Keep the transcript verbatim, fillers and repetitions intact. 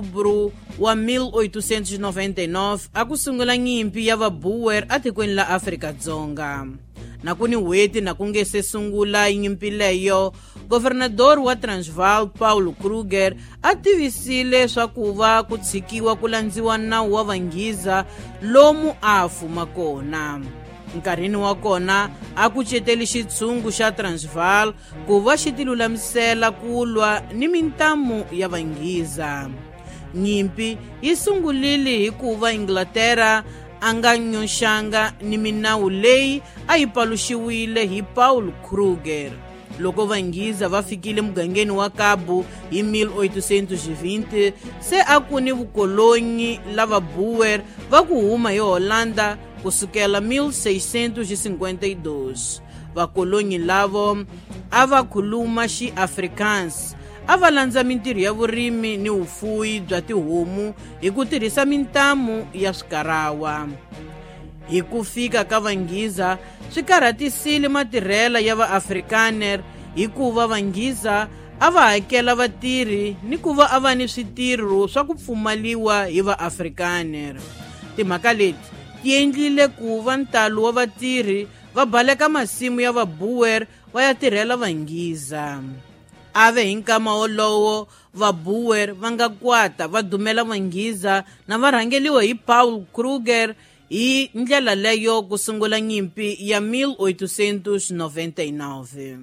Outubro wa mil oitocentos e noventa e nove a ku sungula nyimpi ya vaboer atikweni la Afrika-Dzonga. Na ku ni n'hweti na ku nge se sungula nyimpi leyo, governador wa Transvaal Paul Kruger a tivisile swa ku va ku tshikiwa ku landziwa nawu wa vanghiza lomu a fuma kona. Nkarhini wa kona a ku ceteli xitshungu xa Transvaal ku va xi tilulamisela ku lwa ni mintamu ya vanghiza. Nyimpi yi sungulile hikuva Inglaterra a nga nyoxanga ni minawu leyi a yi paluxiwile hi Paul Kruger. Loko vanghiza va fikile mugangeni wa Kabu hi mil oitocentos e vinte, se a ku ni vukolonyi lava Boer va ku huma hi Holanda kusukela mil seiscentos e cinquenta e dois. Vakolonyi lavo a va khuluma xiAfrikaans, a va landza mintirho ya vurimi ni vufuwi bya tihomu hi ku tirhisa mintamu ya swikarawa. Hi ku fika ka vanghiza swi karhatisile matirhela ya vaAfrikaner hikuva vanghiza a va hakela vatirhi ni ku va a va ni switirho swa ku pfumaliwa hi vaAfrikaner. Timhaka leti ti endlile ku va ntalo wa vatirhi va baleka masimu ya vaboer va ya tirhela vanghiza. Ave hi nkama wolowo vaboer va nga kwata va dumela vanghiza na va rhangeliwa hi Paul Kruger hi ndlela leyo ku sungula nyimpi ya mil oitocentos e noventa e nove.